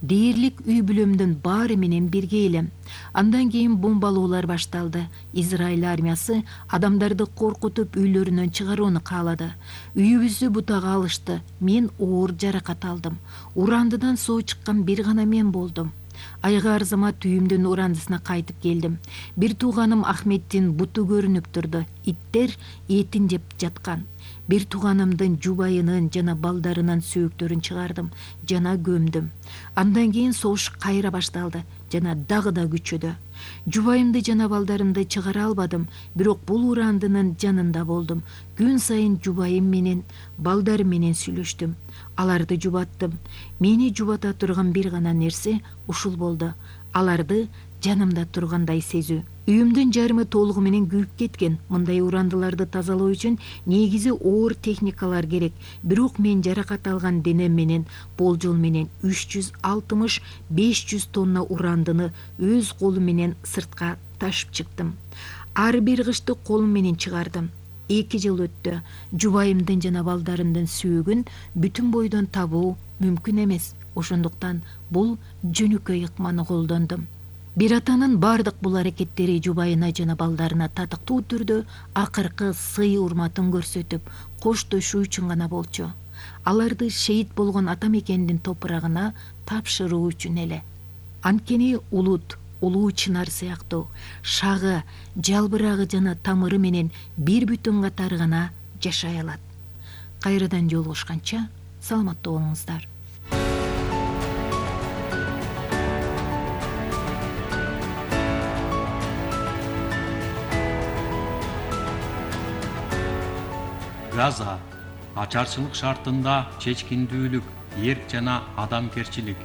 Дээрлик үй бүлөмдүн баары менен бирге элем. Андан кийин бомбалоолор башталды. Израиль армиясы адамдарды коркутуп үйлөрүнөн чыгарууну каалады. Үйүбүздү бутага алышты. Мен оор жаракат алдым. Урандыдан соо чыккан бир гана мен болдум. Айга арзамат үйүмдүн урандысына кайтып келдим. Бир тууганым Ахметтин буту көрүнүп турду. Иттер этин жеп жаткан. Бир тууганымдын жубайынын жана балдарынын сөөктөрүн чыгардым жана көмдүм. Андан кийин согуш кайра башталды жана дагы да күчөдү. Жубайымды жана балдарымды чыгара албадым, бирок бул урандынын жанында болдум. Күн сайын жубайым менен, балдарым менен сүйлөштүм. Аларды жубаттым. Мени жубата турган бир гана нерсе ушул болду. Аларды жанымда тургандай сезүү. Үйүмдүн жарымы толугу менен күйүп кеткен. Мындай урандыларды тазалоо үчүн негизи оор техникалар керек. Бирок мен жаракат алган денем менен болжол менен 360-500 тонна урандыны өз колум менен сыртка ташып чыктым. Ар бир кышты колум менен чыгардым. 2 жыл өттү. Жубайымдын жана балдарымдын сөөгүн бүтүн бойдон табуу мүмкүн эмес. Ошондуктан бул жөнөкөй ыкманы колдондум. Бир атанын бардык бул аракеттери жубайына жана балдарына татыктуу түрдө акыркы сый урматын көрсөтүп, коштошуу үчүн гана болчу. Аларды шейит болгон ата мекендин топурагына тапшыруу үчүн эле. Анткени улут, улуу чынар сыяктуу шагы, жалбырагы жана тамыры менен бир бүтүн катары гана жашай алат. Кайрадан жолугушканча саламатта болуңуздар. Газа ачарчылык шартында чечкиндүүлүк, эрк жана адамгерчилик